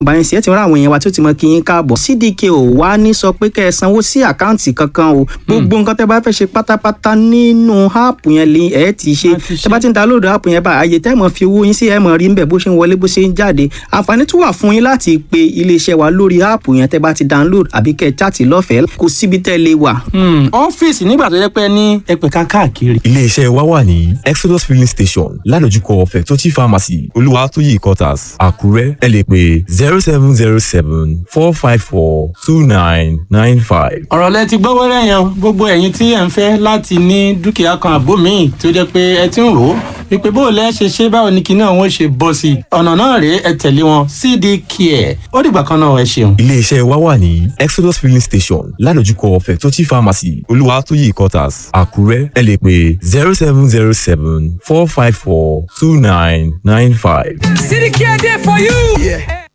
Báyìí sí ẹ ti rán àwọn èèyàn wa tí ó ti mọ kí yín káàbọ̀. CDK ò wá ní sọ pé kẹ́ ẹ sanwó sí àkáǹtì kankan o. Gbogbo nǹkan tẹ́ bá fẹ́ ṣe pátápátá nínú áàpù yẹn lè ẹ ti ṣe. Tẹ́ bá ti ń download áàpù yẹn báyìí, àyè tẹ́ mọ̀ fi owó yín sí, ẹ mọ̀ rí ńbẹ̀ bó ṣe ń wọlé, bó ṣe ń jáde. Àǹfààní tún wà fún yín láti pe iléeṣẹ́ wa lórí áàpù yẹn tẹ́ bá ti download, àbí kẹ́ ẹ chat lọ́fẹ̀ẹ́. Kò síbi tẹ́ lè wà. Ọ́fíìsì nígbà tó jẹ́ pé ní ẹ̀pẹ̀ka káàkiri. Iléeṣẹ́ wa wà ní Exodus Filling Station, ládojúkọ Fẹ̀tọ́chì Pharmacy, Olúwatóyè Quarters, Àkúrẹ́. Ẹ lè pè 07074542995. Ọ̀rọ̀ lẹ ti gbọ́ wẹ́rẹ́ yẹn o. Gbogbo ẹ̀yin tí ẹ̀ ń fẹ́ láti ní dúkìá kan àbó míì tó jẹ́ pé ẹ ti ń rò ó wípé bó o lẹ́ ṣe ṣe, báwo ni kinní ọ̀hún ṣe bọ́ sí i, ọ̀nà náà rèé, ẹ tẹ̀lé wọn, CD Care. Ó dìgbà kan náà, ẹ ṣeun. Iléeṣẹ́ wa wà ní Exodus Filling Station, ládojúkọ Fẹ̀tọ́chì Pharmacy, Olúwatóyè Quarters, Àkúrẹ́. Ẹ lè pè 07074542995. CDK there for you. Yeah.